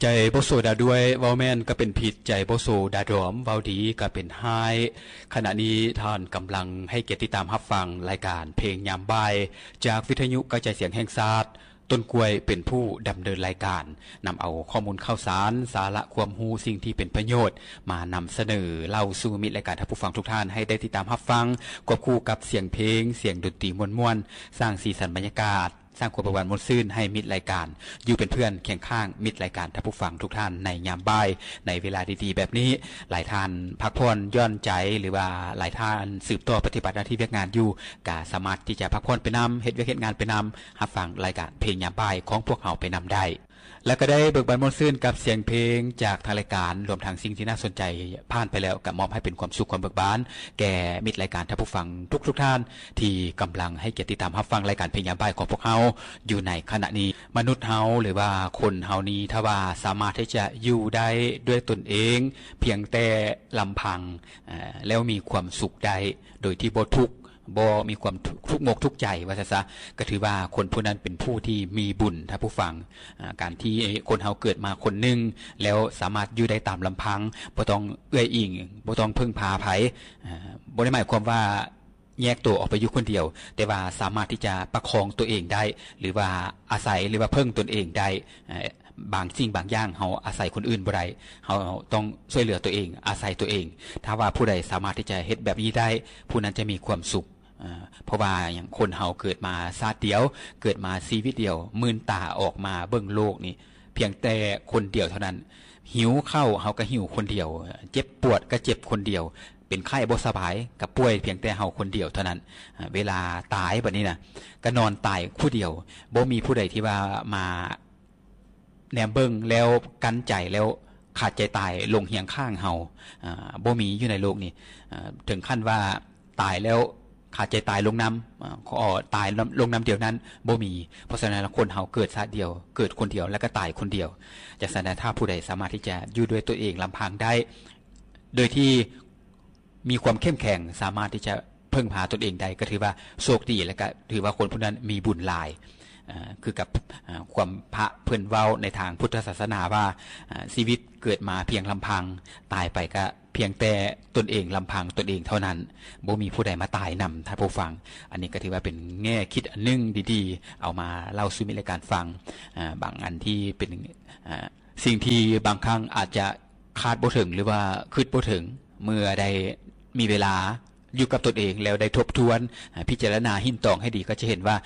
ໃຈບໍ່ໂສດາດ້ວຍ ເວົ້າແມ່ນກໍເປັນພິດ, ໃຈບໍ່ໂສດາດອມ ເວົ້າດີກໍເປັນຮ້າຍ. ຂະນະນີ້ທ່ານກຳລັງໃຫ້ກຽດຕິດຕາມຮັບຟັງລາຍການເພງຍາມບ່າຍ ຈາກວິທະຍຸກະຈາຍສຽງແຫ່ງຊາດ. ຕົ້ນກ້ວຍເປັນຜູ້ດຳເນີນລາຍການ, ນຳເອົາຂໍ້ມູນຂ່າວສານ, ສາລະຄວາມຮູ້, ສິ່ງທີ່ເປັນປະໂຫຍດ ມານຳສະເໜີເລົ່າສູ່ມິດລາຍການທ່ານຜູ້ຟັງທຸກທ່ານໃຫ້ໄດ້ຕິດຕາມຮັບຟັງ, ຄວບຄູ່ກັບສຽງເພງ, ສຽງດົນຕີມ່ວນໆ, ສ້າງສີສັນບັນຍາກາດ, ສ້າງຄວາມເບີກບານມ່ວນຊື່ນໃຫ້ມິດລາຍການ, ຢູ່ເປັນເພື່ອນຄຽງຂ້າງມິດລາຍການທ່ານຜູ້ຟັງທຸກທ່ານໃນຍາມບ່າຍ ໃນເວລາດີໆແບບນີ້. ຫຼາຍທ່ານພັກຜ່ອນຢ່ອນໃຈ ຫຼືວ່າຫຼາຍທ່ານສືບຕໍ່ປະຕິບັດໜ້າທີ່ວຽກງານຢູ່ ກະສາມາດທີ່ຈະພັກຜ່ອນໄປນຳ, ເຮັດວຽກເຮັດງານໄປນຳ, ຮັບຟັງລາຍການເພງຍາມບ່າຍຂອງພວກເຮົາໄປນຳໄດ້. ແລະ ກໍໄດ້ເບີກບານມ່ວນຊື່ນກັບສຽງເພງຈາກທາງລາຍການ, ລວມທັງສິ່ງທີ່ໜ້າສົນໃຈຜ່ານໄປແລ້ວ, ກໍມອບໃຫ້ເປັນຄວາມສຸກຄວາມເບີກບານແກ່ມິດລາຍການທ່ານຜູ້ຟັງທຸກໆທ່ານ ທີ່ກຳລັງໃຫ້ກຽດຕິດຕາມຮັບຟັງລາຍການເພງຍາມບ່າຍຂອງພວກເຮົາຢູ່ໃນຂະນະນີ້. ມະນຸດເຮົາ ຫຼືວ່າຄົນເຮົານີ້ ຖ້າວ່າສາມາດທີ່ຈະຢູ່ໄດ້ດ້ວຍຕົນເອງ ພຽງແຕ່ລຳພັງ ເອີ ແລ້ວມີຄວາມສຸກໄດ້ ໂດຍທີ່ບໍ່ທຸກ ບໍ່ມີຄວາມທຸກ ທຸກມົກທຸກໃຈວ່າຊັ້ນຊະ, ກໍຖືວ່າຄົນຜູ້ນັ້ນເປັນຜູ້ທີ່ມີບຸນ ທ່ານຜູ້ຟັງ. ອາ ການທີ່ຄົນເຮົາເກີດມາຄົນໜຶ່ງ ແລ້ວສາມາດຢູ່ໄດ້ຕາມລຳພັງ ບໍ່ຕ້ອງເອື້ອຍອີງ ບໍ່ຕ້ອງເພິ່ງພາໃຜ ອາ ບໍ່ໄດ້ໝາຍຄວາມວ່າແຍກໂຕອອກໄປຢູ່ຄົນດຽວ, ແຕ່ວ່າສາມາດທີ່ຈະປະຄອງຕົວເອງໄດ້ ຫຼືວ່າອາໄສ ຫຼືວ່າເພິ່ງຕົນເອງໄດ້. ເອີ ບາງສິ່ງບາງຢ່າງເຮົາອາໄສຄົນອື່ນບໍ່ໄດ້, ເຮົາຕ້ອງຊ່ວຍເຫຼືອຕົວເອງ, ອາໄສຕົວເອງ. ຖ້າວ່າຜູ້ໃດສາມາດທີ່ຈະເຮັດແບບນີ້ໄດ້ ຜູ້ນັ້ນຈະມີຄວາມສຸກ. ເອີ ເພາະວ່າຫຍັງ ຄົນເຮົາເກີດມາຊາດດຽວ, ເກີດມາຊີວິດດຽວ, ມື່ນຕາອອກມາເບິ່ງໂລກນີ້ ພຽງແຕ່ຄົນດຽວເທົ່ານັ້ນ. ຫິວເຂົ້າ ເຮົາກໍຫິວຄົນດຽວ, ເຈັບປວດກໍເຈັບຄົນດຽວ, ເປັນໄຂ້ບໍ່ສະບາຍກໍປ່ວຍພຽງແຕ່ເຮົາຄົນດຽວເທົ່ານັ້ນ. ເວລາຕາຍບັດນີ້ນະ ກໍນອນຕາຍຜູ້ດຽວ, ບໍ່ມີຜູ້ໃດທີ່ວ່າມາ ແນມເບິ່ງແລ້ວກັ້ນໃຈ ແລ້ວຂາດໃຈຕາຍລົງຮຽງຂ້າງເຮົາ ອາ ບໍ່ມີຢູ່ໃນໂລກນີ້. ອາ ເຖິງຂັ້ນວ່າຕາຍແລ້ວຂາດໃຈຕາຍລົງນຳ ອາ ຂໍຕາຍລົງນຳດຽວນັ້ນ ບໍ່ມີ. ເພາະສະນັ້ນ ຄົນເຮົາເກີດຊາດດຽວ ເກີດຄົນດຽວ ແລ້ວກໍຕາຍຄົນດຽວ. ຈັ່ງຊັ້ນນະ ຖ້າຜູ້ໃດສາມາດທີ່ຈະຢູ່ດ້ວຍຕົວເອງລຳພັງໄດ້ ໂດຍທີ່ ມີຄວາມເຂັ້ມແຂງ ສາມາດທີ່ຈະເພິ່ງພາຕົນເອງໄດ້ ກໍຖືວ່າໂຊກດີ ແລະ ກໍຖືວ່າຄົນຜູ້ນັ້ນມີບຸນຫຼາຍ. ເອີ ຄືກັບ ເອີ ຄວາມພະເພິ່ນເວົ້າໃນທາງພຸດທະສາສະໜາວ່າ ເອີ ຊີວິດເກີດມາພຽງລຳພັງ, ຕາຍໄປກໍພຽງແຕ່ຕົນເອງລຳພັງຕົນເອງເທົ່ານັ້ນ, ບໍ່ມີຜູ້ໃດມາຕາຍນຳ ທ່ານຜູ້ຟັງ. ອັນນີ້ກໍຖືວ່າເປັນແງ່ຄິດອັນໜຶ່ງດີໆ ເອົາມາເລົ່າສູ່ມິດລາຍການຟັງ. ເອີ ບາງອັນທີ່ເປັນ ເອີ ສິ່ງທີ່ບາງຄັ້ງອາດຈະ ຄາດບໍ່ເຖິງ ຫຼືວ່າຄິດບໍ່ເຖິງ ເມື່ອໄດ້ມີເວລາຢູ່ກັບຕົນເອງ ແລ້ວໄດ້ທົບທວນ ພິຈາລະນາ ຮິ້ນຕອງໃຫ້ດີ ກໍຈະເຫັນວ່າ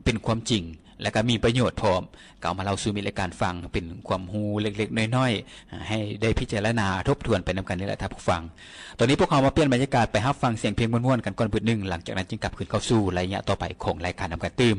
ເປັນຄວາມຈິງ ແລະ ກໍມີປະໂຫຍດພ້ອມ. ກໍເອົາມາເລົ່າສູ່ມິດລາຍການຟັງ ເປັນຄວາມຮູ້ເລັກໆນ້ອຍໆ ໃຫ້ໄດ້ພິຈາລະນາທົບທວນໄປນຳກັນນີ້ແຫຼະ ທ່ານຜູ້ຟັງ. ຕອນນີ້ພວກເຮົາມາປ່ຽນບັນຍາກາດໄປຮັບຟັງສຽງເພງມ່ວນໆກັນກ່ອນບຶດໜຶ່ງ, ຫຼັງຈາກນັ້ນຈຶ່ງກັບຄືນເຂົ້າສູ່ໄລຍະຕໍ່ໄປຂອງລາຍການນຳກັນຕື່ມ.